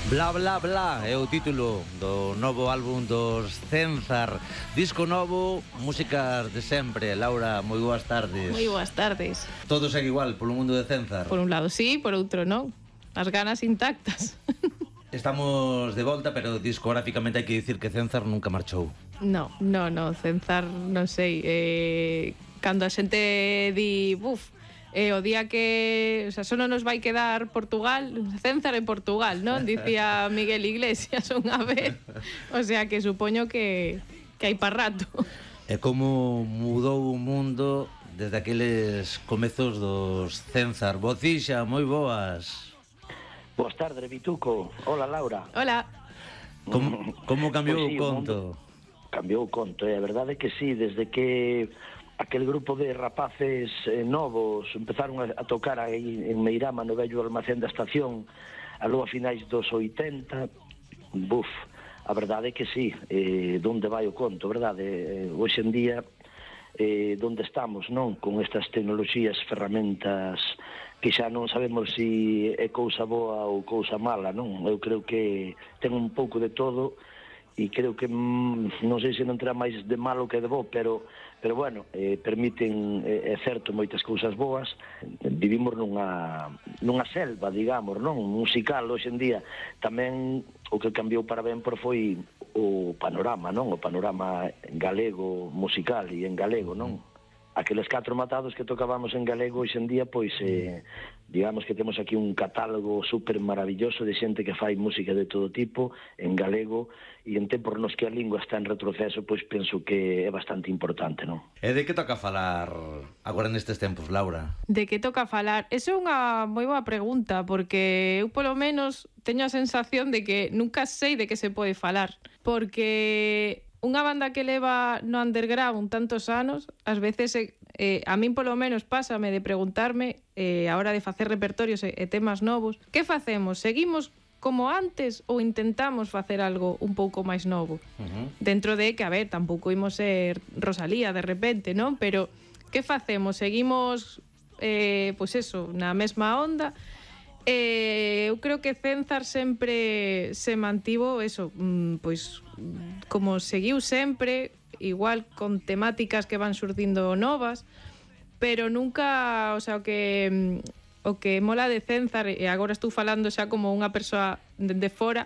Bla bla bla é o título do novo álbum dos Cenzar. Disco novo, músicas de sempre. Laura, moi boas tardes. Moi boas tardes. Todo segue igual polo mundo de Cenzar? Por un lado sí, por outro non. As ganas intactas. Estamos de volta, pero discográficamente hai que dicir que Cenzar nunca marchou. No, Cenzar, non sei, cando a xente di, o día que, o sea, só non nos vai quedar Portugal, Cenzar en Portugal, non? Dicía Miguel Iglesias unha vez. O sea, que supoño que hai para rato. E como mudou o mundo desde aqueles comezos dos Cenzar. Bocixa, moi boas. Boas tardes, Vituco. Hola, Laura. Hola. Como cambiou Pois sí, o conto? Cambiou o conto, a verdade é que sí, desde que aquel grupo de rapaces novos empezaron a tocar aí en Meirama, no vello almacén da estación, aló a finais dos 80, a verdade é que sí, donde vai o conto, verdade? Hoxe en día, donde estamos, non? Con estas tecnoloxías, ferramentas que xa non sabemos se é cousa boa ou cousa mala, non? Eu creo que ten un pouco de todo e creo que non sei se non terá máis de malo que de bo, pero bueno, permiten, é certo, moitas cousas boas. Vivimos nunha selva, digamos, non? Musical, hoxe en día. Tamén o que cambiou para ben foi o panorama, non? O panorama galego musical e en galego, non? Aqueles 4 matados que tocábamos en galego hoxe en día, pois, digamos que temos aquí un catálogo super maravilloso de xente que fai música de todo tipo, en galego, e en tempos nos que a lingua está en retroceso, pois penso que é bastante importante, non? E de que toca falar agora nestes tempos, Laura? De que toca falar? Esa é unha moi boa pregunta, porque eu polo menos teño a sensación de que nunca sei de que se pode falar, porque unha banda que leva no underground tantos anos, ás veces a min polo menos pásame de preguntarme a hora de facer repertorios e temas novos, que facemos? Seguimos como antes ou intentamos facer algo un pouco máis novo? Dentro de que, a ver, tampouco imos ser Rosalía de repente, non? Pero que facemos? Seguimos, pois eso, na mesma onda? Eu creo que Cenzar sempre se mantivo eso, pois como seguiu sempre, igual con temáticas que van surdindo novas, pero nunca, o sea, o que mola de Cenzar, e agora estou falando xa como unha persoa de fora,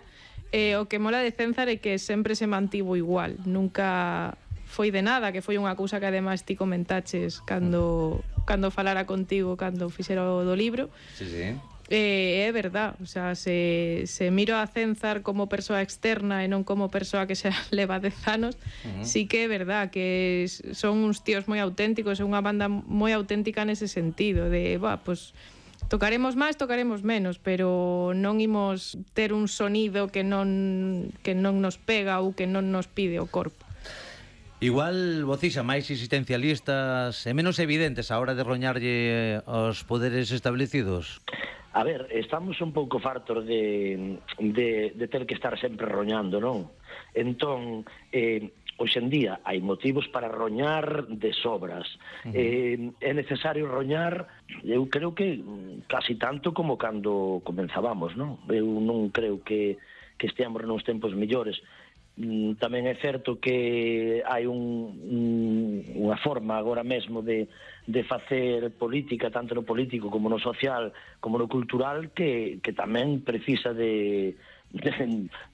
o que mola de Cenzar é que sempre se mantivo igual, nunca foi de nada, que foi unha cousa que ademais ti comentaches cando falara contigo, cando fixera o do libro. Sí, sí. É verdad, o sea, se miro a Cenzar como persoa externa e non como persoa que xa leva 10 anos, sí que é verdad que son uns tíos moi auténticos, é unha banda moi auténtica nese sentido, de, pues tocaremos máis, tocaremos menos, pero non imos ter un sonido que non nos pega ou que non nos pide o corpo. Igual, Bocixa, máis existencialistas e menos evidentes a hora de roñarlle aos poderes establecidos? A ver, estamos un pouco fartos de ter que estar sempre roñando, non? Entón, hoxe en día hai motivos para roñar de sobras. É necesario roñar, eu creo que casi tanto como cando comenzábamos, non? Eu non creo que esteamos nos tempos mellores. Tamén é certo que hai unha forma agora mesmo de facer política, tanto no político como no social, como no cultural, que tamén precisa de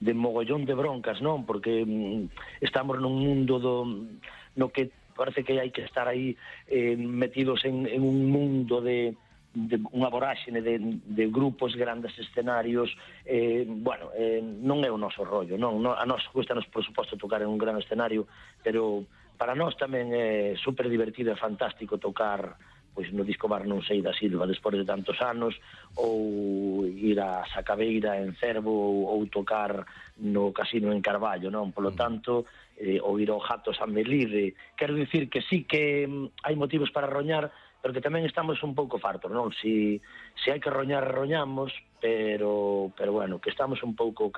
mogollón de broncas, non? Porque estamos nun mundo no que parece que hai que estar aí metidos en un mundo de unha voráxene de grupos, grandes escenarios, non é o noso rollo, non? A nós custanos, por suposto, tocar en un gran escenario, pero para nós tamén é super divertido e fantástico tocar pois no Disco Bar Non Sei da Silva despois de tantos anos, ou ir a Sacabeira en Cervo, ou tocar no Casino en Carballo, non? Polo tanto, ou ir ao Jato San Melide. Quero dicir que sí que hai motivos para roñar, pero que tamén estamos un pouco fartos, non? Se hai que roñar, roñamos, pero bueno, que estamos un pouco